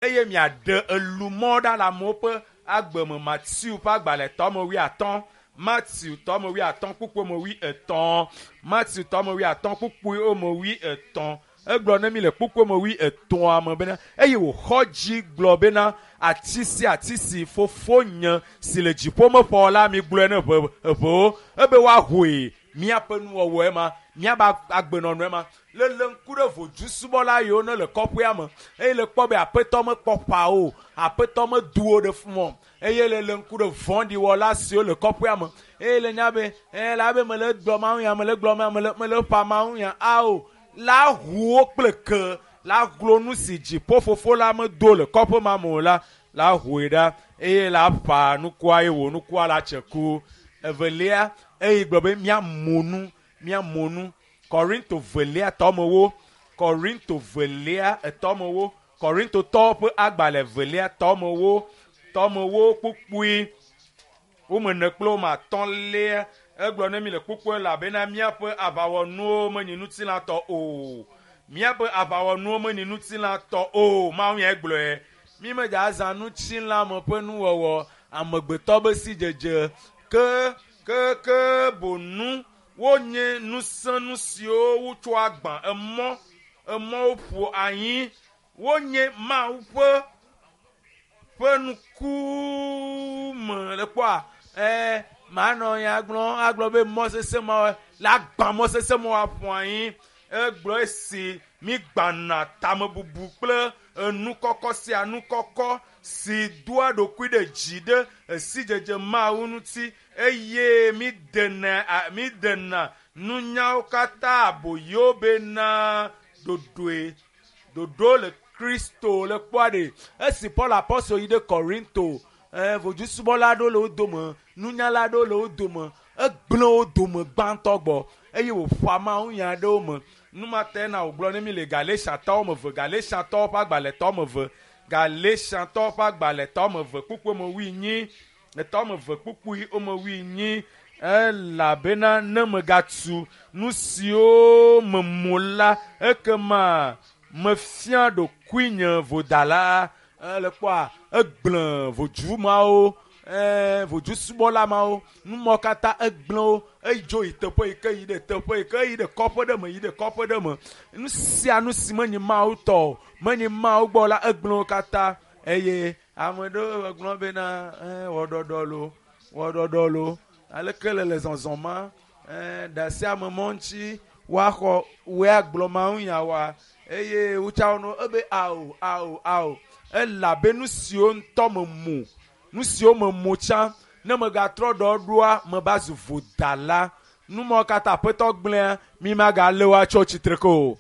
Eye miaɖe elumɔ ɖa le amewo ƒe agbe me. Mateo ƒe agbalẽ tɔme wuiatɔ̃, Mateo tɔme wuiatɔ̃ kpukpui me wuietɔ̃, Mateo tɔme wuiatɔ̃ kpukpui me wuietɔ̃. Egblɔ ne mi le kpukpui me wuietɔ̃a me bena, eye wòxɔ dzi gblɔ bena, ati sia ati si fofonye si le dziƒo meƒɔ la, migblɔe ne ʋe eʋewo, ebe woahoe. Míaƒe nuwɔwɔe ma, míaƒe agbenɔnɔe ma. Lele ŋku ɖe vodusubɔla yiwo ne le kɔƒea me eye le kpɔ be aƒetɔ mekpɔ ƒa o, aƒetɔ medu wo ɖe fún o eye lele ŋku ɖe vɔ̃ɖiwɔla siwo le kɔƒea me eye le nya be ɛ la be mele gblɔ mawu nya mele gblɔ ma mele mele ƒa mawu nya ao la ʋu wo kple ke la glo nu si dziƒo fofo la medo le kɔƒe ma me o la la hoe ɖa eye la ƒa nukua eye wò nukua la tse ku. Evelia eye gblɔ be míamu nu míamu nu. Korinto velia tɔmewo Korinto velia etɔmewo Korintotɔwo ƒe agbalẽ velia tɔmewo tɔmewo kpukpui wome ene kple wome atɔ̃lia egblɔ ne mi le kpukpui elabena míaƒe aʋawɔnuwo menyi ŋutilãtɔ o. Míaƒe aʋawɔnuwo menyi ŋutilãtɔ o. Mawu ya gblɔe. Mi medza azã ŋutilãme ƒe nuwɔwɔ amegbetɔ be sidzedze ke ke ke bonu wonye nusẽnu siwo wotsɔ agbã emɔ emɔwo ƒo anyi wonye Mawu ƒe ƒe nukume le kpɔa ɛɛ manɔ ya gblɔ agblɔ be mɔ sesẽ ma la gbã mɔ sesẽ ma aƒo anyi egblɔ esi mi gbãna tamebubu kple enukɔkɔ sia nukɔkɔ si doa ɖokui ɖe dzi ɖe esidzedze Mawu ŋuti eye mi dena mi dena nunyawo katã aboyo bena ɖoɖoe ɖoɖo le Kristo le kpɔa ɖe esi Paul apɔstol yi ɖe Korinto ɛɛ vodusubɔla aɖewo le wo dome nunyala aɖewo le wo dome egblẽ wo dome gbãtɔ gbɔ eye wòƒo Mawu nya aɖewo me numate na wògblɔ ne mi le Galatiatɔwo me ve Galatiatɔwo ƒe agbalẽtɔ me ve Galatiatɔwo ƒe agbalẽtɔ me ve kpukpui me wuienyi etɔ me ve kpukpui me wuienyi elabena ne megatu nu siwo memu la ekema mefia ɖokuinye vodala ele kpɔa egblẽ vodzu mawo ɛɛ vodusubɔla mawo numɔ katã egblẽ wo edzo yi teƒe yi ke yi ɖe teƒe yi ke yi ɖe kɔƒe ɖe me yi ɖe kɔƒe ɖe me nu sia nu si menyi Mawu tɔ o menyi Mawu gbɔ la egblẽ wo katã eye ame ɖewo gblɔ bena ɛɛ wɔɖɔɖɔ lo wɔɖɔɖɔ lo aleke le le zɔzɔm ma ɛɛ ɖe sia ame mɔ ŋuti woaxɔ woe agblɔ Mawu nya wa eye wotsa wo no ebe ao ao ao elabe nu siwo ŋutɔ memu nu siwo memu tsã ne megatrɔ ɖɔ ɖoa meva zu vodala numɔ katã aƒetɔ gblẽa mi magalé wo atsɔ tsitre ke o.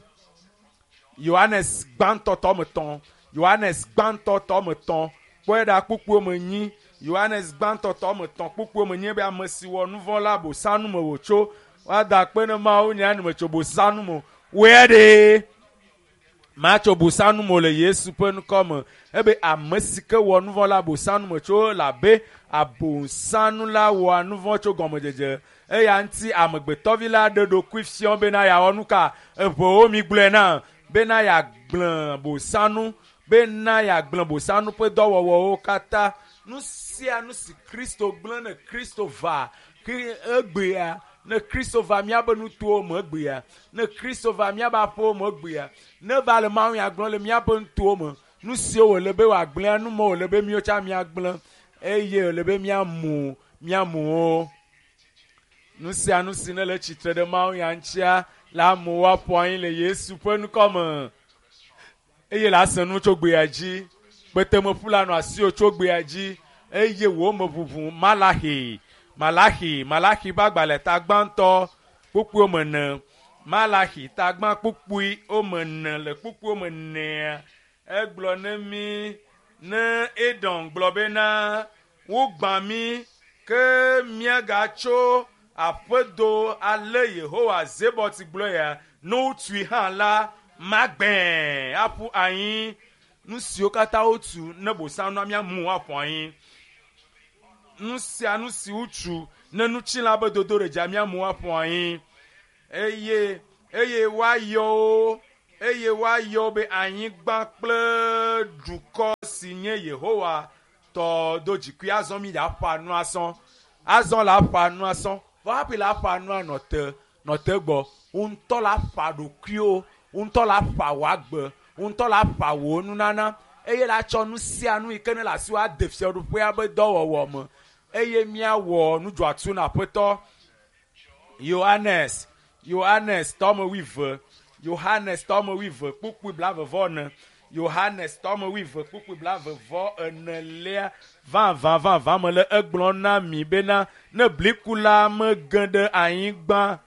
Yohanes gbãtɔ tɔme tɔ̃ Yohanes gbãtɔ tɔme tɔ̃ kpɔe ɖa kpukpuiwo me nyi Yohanes gbãtɔ tɔme tɔ̃ kpukpuiwo me nyi be ame si wɔ nu vɔ̃ la bosanu me wòtso woada akpe ne Mawu nya ne metso bosanu me o woe ɖe matso bosanu me o le Yesu ƒe ŋkɔ me ebe ame si ke wɔ nu vɔ̃ la bosanu me tso labe abosanu la wɔa nu vɔ̃ tso gɔmedzedze eya ŋuti amegbetɔvi la ɖe ɖokui fiɔ bena yeawɔ nu ka eʋewo mi gblɔe na bena yeagblẽ bosanu bena yeagblẽ bosanu ƒe dɔwɔwɔwo katã nu sia nu si Kristo gblẽ ne Kristo va egbea ne Kristo va míaƒe nutowo me egbea ne Kristo va míaƒe aƒewo me egbea ne va le Mawu nya gblɔm le míaƒe nutowo me nu siwo wòle be wòagblẽa nu ma wòle be míawo tsã míagblẽ eye wòle be míamu míamu wo nu sia nu si ne le tsitre ɖe Mawu nya ŋutia la amewo aƒo anyi le Yesu ƒe ŋkɔ me eye le ase nu tso gbea dzi kpetemeƒu la nɔ asiwò tso gbea dzi eye wò meʋuʋu Malaxi Malaxi Malaxi ƒe agbalẽ ta gbãtɔ kpukpui me ene Malaxi ta gbã kpukpui me ene le kpukpui me enea egblɔ ne mi ne Edom gblɔ bena wogbã mi ke míagatso aƒedo ale Yehowa Zebɔt gblɔ ya ne wotui hã la magbẽ aƒu anyi nu siwo katã wotu ne bosanua míamu aƒu anyi nu sia nu si wotu ne nutsilã be dodo ɖe dzia míamu aƒu anyi eye eye woayɔ wo Eye woayɔ be anyigba kple dukɔ si nye Yehowa tɔ do dzikui. Azɔ mi la ƒa nu asɔ. Azɔ la ƒa nu asɔ. Vɔ hafi la ƒa nua nɔ te nɔ te gbɔ. Ŋutɔ la ƒa ɖokuiwo. Ŋutɔ la ƒa wò agbe. Ŋutɔ la ƒa wò nunana. Eye la tsɔ nu sia nu yi ke ne le asiwò ade fiaɖuƒea be dɔwɔwɔ me. Eye míawɔ nu dzɔatsu na Aƒetɔ. Yohanes, Yohanes tɔme wuieve, Yohanes tɔme wuieve kpukpui blaeve-vɔ-ene, Yohanes tɔme wuieve kpukpui blaeve-vɔ-enelia. Vavã vavã mele egblɔm na mi bena ne blikula mege ɖe anyigba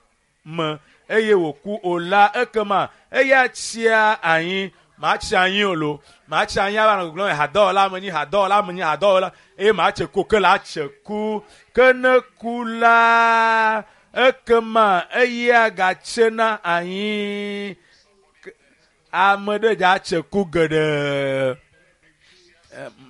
me eye wòku o la, ekema eya tsia anyi. Matsi anyi o lo, matsi anyi ava nɔ gbɔgblɔm hadɔwɔla menye, hadɔwɔla menye, hadɔwɔla eye matse ku ke la tse ku. Ke ne ku la, ekema eya gatsena anyi. Ame ɖe dza tse ku geɖe.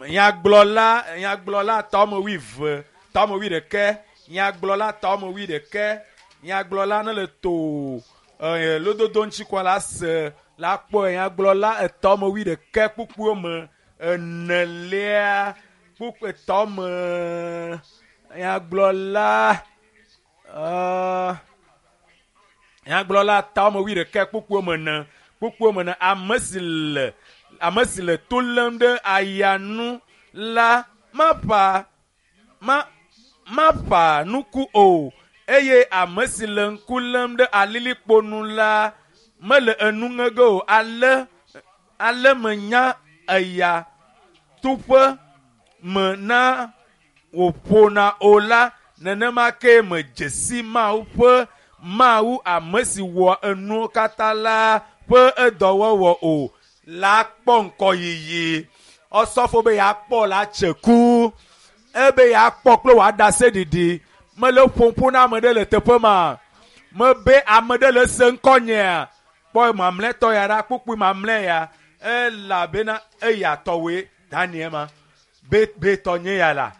Nyagblɔla, nyagblɔla tɔme wuieve, tɔme wuiɖekɛ, nyagblɔla tɔme wuiɖekɛ, nyagblɔla ne le to lododo ŋuti kɔ la se la kpɔe. Nyagblɔla etɔme wuiɖekɛ kpukpuiwo me enelia kpukpui etɔme nyagblɔla nyagblɔla tɔme wuiɖekɛ kpukpuiwo me ene kpukpuiwo me ene. Ame si le ame si le to lém ɖe aya nu la maƒa ma maƒa nuku o eye ame si le ŋku lém ɖe alilikpo nu la mele enu ŋe ge o. Ale ale menya eya tuƒe me na wòƒona o la, nenema ke medze si Mawu ƒe Mawu ame si wɔ enuwo katã la ƒe edɔwɔwɔ o la kpɔ ŋkɔyiyi. Ɔsɔfo be yeakpɔ la tse ku. Ebe yeakpɔ kple wòaɖase ɖiɖi. Mele ƒom ƒo na ame ɖe le teƒe ma. Mebe ame ɖe le se ŋkɔnyea. Kpɔ mamlɛtɔ ya ɖa, kpukpui mamlɛ ya. Elabena eya tɔwoe Daniel ma. Be be tɔ nye ya la.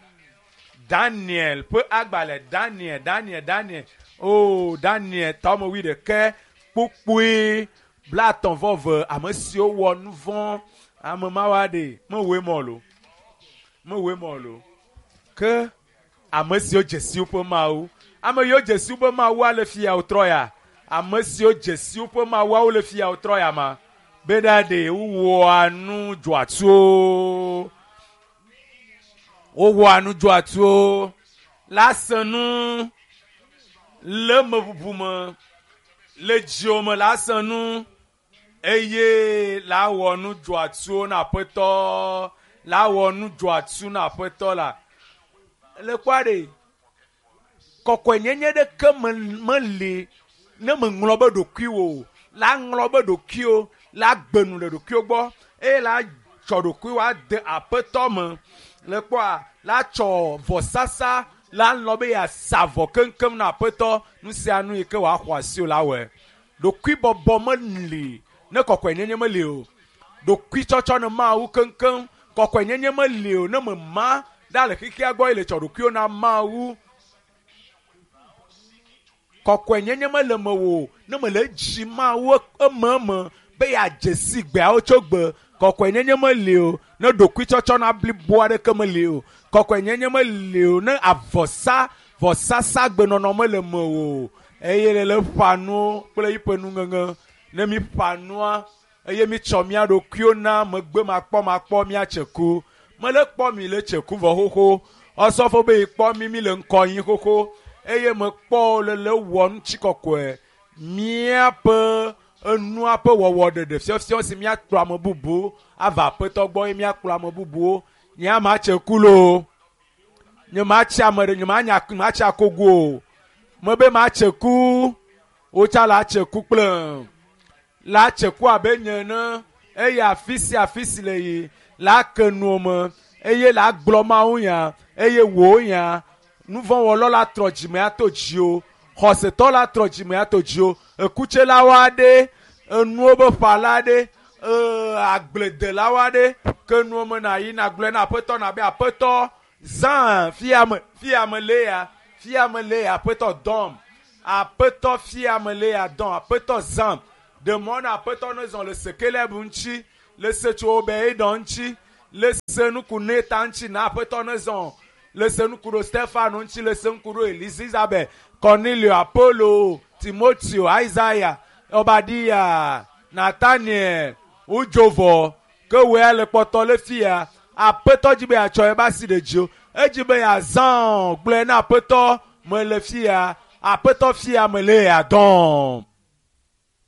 Daniel ƒe agbalẽ Daniel Daniel Daniel o Daniel tɔme wuiɖekɛ kpukpui 35 ame siwo wɔ nu vɔ̃ ame mawoa ɖe mewɔe mɔ lo mewɔe mɔ lo ke ame siwo dze si woƒe Mawu ame yiwo dze si woƒe Mawua le fia wotrɔ ya ame siwo dze si woƒe Mawuawo le fia wotrɔ ya ma bena ɖe wowɔa nu dzɔatsuwo wowɔa nu dzɔatsuwo la se nu le meʋuʋu me le dziwò me la se nu eye la wɔ nu dzɔatsuwo na Aƒetɔ la wɔ nu dzɔatsu na Aƒetɔ la le kpɔa ɖe kɔkɔenyenye ɖeke meli ne meŋlɔ be ɖokuiwò la ŋlɔ be ɖokuiwo la gbe nu le ɖokuiwo gbɔ eye la tsɔ ɖokuiwo ade Aƒetɔ me le kpɔa la tsɔ vɔsasa la lɔ be yeasa vɔ keŋkeŋ na Aƒetɔ nu sia nu yi ke wòaxɔ asi o la wɔe. Ɖokuibɔbɔ meli ne kɔkɔenyenye meli o. Ɖokuitsɔtsɔ ne Mawu keŋkeŋ kɔkɔenyenye meli o ne mema ɖa le xexea gbɔ ye le tsɔ ɖokuiwo na Mawu. Kɔkɔenyenye mele mewò ne mele edzi Mawu ememe be yeadze si gbeawo tso gbe. Kɔkɔenyenye meli o ne ɖokuitsɔtsɔ na blibo aɖeke meli o. Kɔkɔenyenye meli o ne avɔsa vɔsasa gbenɔnɔ mele mewò o eye le le ƒa nuwo kple yiƒe nuŋeŋe. Ne mi ƒa nua eye mi tsɔ mía ɖokuiwo na megbe makpɔmakpɔ míatse ku. Mele kpɔ mi le tse ku vɔ xoxo. Ɔsɔfo be yikpɔ mi mi le ŋkɔ yi xoxo eye mekpɔ le le wɔ ŋutikɔkɔe míaƒe enua ƒe wɔwɔ ɖeɖe fiɔfiɔ si míakplɔ ame bubu ava Aƒetɔ gbɔ eye míakplɔ ame bubuwo. Nye ama tse ku loo. Nye matsi ame ɖe nye manya matsi akogo o. Mebe matse ku. Wotsa la tse ku kple la tse ku abe nye ene eye afi sia afi si le yi la ke nuwo me eye la gblɔ Mawu nya eye wò nya nuvɔ̃wɔlɔ la trɔ dzime ato dziwò xɔsetɔ la trɔ dzime ato dziwò ekutselawo aɖe enuwo be ƒala aɖe agbledelawo aɖe ke nuwo me na yi na gblɔe na Aƒetɔ na be Aƒetɔ zã fia me le ya fia me le ya Aƒetɔ dɔm Aƒetɔ fia me le ya dɔm Aƒetɔ zãm. Ɖe mɔ na aƒetɔ ne zɔ le sekeleb ŋuti, le se tso be eɖɔ ŋuti, le se nuku neta ŋuti na aƒetɔ ne zɔ le se nuku ɖo Stefano ŋuti, le se nuku ɖo Elizabeth, Cornelio, Apollo, Timoteo, Isaiah, Obadia, Nathaniel, wodzovɔ ke woe le kpɔtɔ le fia. Aƒetɔ dzi be yeatsɔ ebe asi ɖe dziwò. Edzi be yeazã gblɔe na aƒetɔ mele fia. Aƒetɔ fia mele ya dɔm.